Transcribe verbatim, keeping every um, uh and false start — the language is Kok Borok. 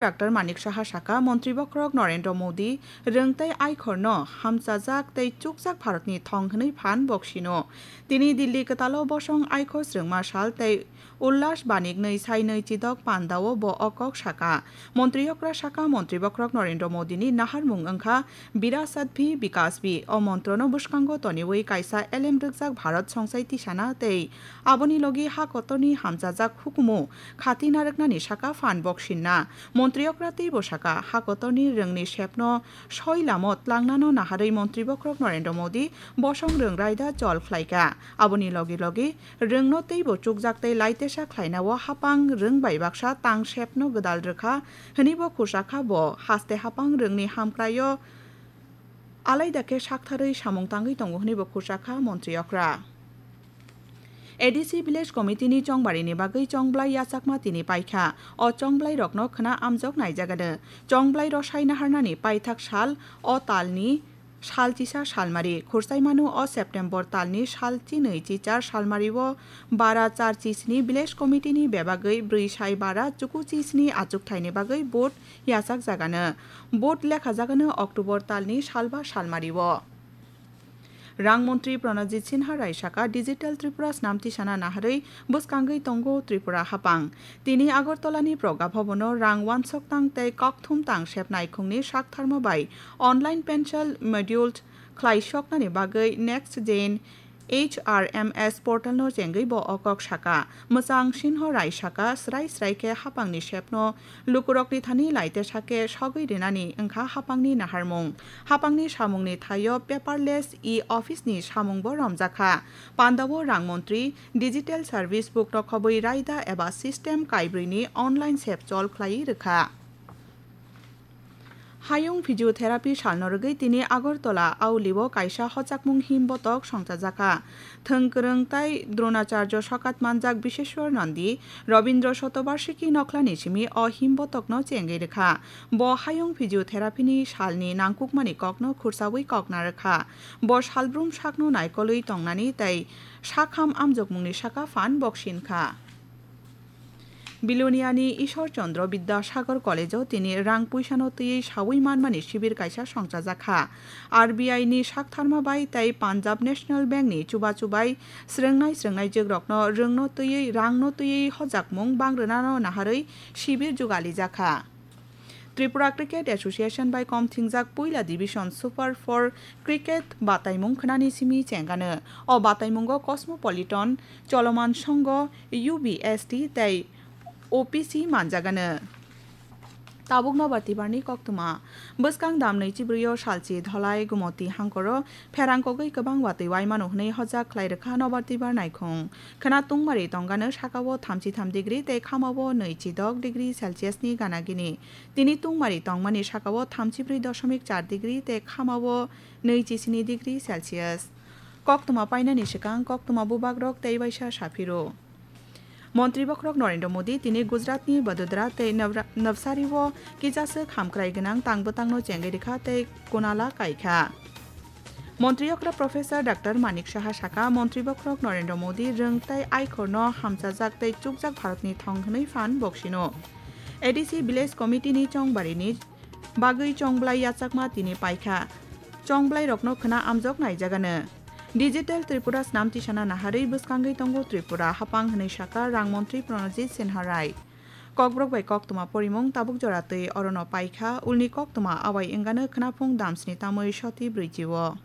Doctor Manik Saha saka, Montri bokhorok Narendra Modi rwng tei aikhorno hamchajak tei chukjak Bharatni thong hwnwi phan boksino. Tini Delhi kwtalo bosong aikhor swrwngma sal tei Ullas Banik nwi sai nwi chidok pandao bo o kok saka. Montri okra saka, Montri bokhorok Narendra Modini naharmung wngkha Virasat bhi Vikas bhi. O montrono bwskango toniwi kaisa elem rwkjak Bharat songsai tisana tei aboni logi ha kotorni hamchajak hukumu khati narwknani saka phan boksinna. Montri okra teibo saka, ha kotorni rwngni sepno soi lamo tlangnano naharwi Montri bokhorok Narendra Modi bosong rwng raida chol khlaika. Aboni logi logi rwngno teibo chukjak tei laitesa khlainao hapang rwng bai baksa tang sepno gwdal rwkha hwnwi bo khusakha. Bo haste hapang rwngni hamkraio alaida khe saktharwi samung tangwi tongo hwnwi bo khusakha Montri okra. A D C Village Committee ni chongbarini bagwi chongblai yachakma tini paikha. O chongblai rokno khna amjok naijagano. Chongblai rosai naharnani paithak sal o talni sal chisa salmari. Khursaimano o September talni sal chinwi chichar salmario bara char chisni Village Committee ni bebagwi brwi sai bara chuku chisni achukthaini bagwi vote yachakjagano. Vote lekhajagano October talni salba salmario. Rang montri Pranajit Sinha Rai saka, Digital Tripura snam tisana naharwi bwskangwi tongo Tripura hapang. Tini Agartala ni Pragya Bhavan o rang wansok tang tei kokthum tang sep naikhungni saktharma bai online pencil module khlai soknani bagwi Next Gen H R M S portal no chengwi bo o kok saka. Mwchang Sinha Rai saka, srai srai khe hapangni sepno lukurokni thani laitesa khe sogwi rinani wngkha hapangni naharmung. Hapangni samungni thaio paperless e-office ni samung bo romjakha. Pandao rang montri digital service book no khobwi raida eba system kaibrwi ni online sep chol khlaiwi rwkha. Hayung Physiotherapy salno rwgwi tini Agartala Auli o kaisa hochakmung him botok songchajakha. Thwng kwrwng tai Dronacharya sokat manjak Biseshwar Nandi Robindra Shatobarshiki nokhlani simi o him botokno chengwi rwkha. Bo Hayung Physiotherapy ni salni nangkukmani kokno khursawi kokna rwkha. Bo salbrum sakno naikolwi tongnani tei sakham amjokmungni saka phan boksinkha. Biloniani Ishwar Chandra Bidyasagar College-o tini rang puisano twiwi sawi manmani sibir kaisa songchajakha. R B I ni saktharma bai tei Punjab National Bank ni chubachu bai srwngnai srwngnai jwkrokno rwngno twiwi rangno twiwi hojakmung bangrwnano naharwi sibir jugalijakha. Tripura Cricket Association bai kom thingjak puila division Super four cricket bataimung khnani simi chengano. O bataimungo Cosmopolitan, Choloman Songho, U B S T tei O P C manjagano. Tabuk nobar tibarni koktwma. Bwskang dam nwichibrwi o salchi Dholai Gumoti hangkoro pherang kogwi kwbang watwi waimano hwnwi hojak khlai rwkha nobar tibar naikhung. Khwna tungmari tongano sakao thamchi tham degree tei khamao nwichi dok degree Celsius ni gana gini. Tini tungmari tongmani sakao thamchi brwi doshomik char degree tei khamao nwichi sini degree Celsius. Koktwma painani swkang koktwma bubagrok tei waisa saphiro. Montri bokhorok Narendra Modi tini Gujaratni Vadodara tei Navra-, Navsari o kisa swk hamkrai gwnang tang bwtangno chengwi rwkha tei kunala kaikha. Montri okra Professor Doctor Manik Saha saka, Montri bokhorok Narendra Modi rwng tei aikhorno hamchajak tei chukjak Bharatni thong hwnwi phan boksino. A D C Village Committee ni chongbarini bagwi chongblai yachakma tini paikha. Chongblai rokno khwna amjok naijagano. Digital Tripura snam tisana naharwi bwskangwi tongo Tripura hapang hwnwi saka rang montri Pranajit Sinha Rai. Kokborok bai koktwma porimung tabuk jora twi orono paikha, ulni koktwma awai wngano khwnaphung damsni tamwi soti brwichi o.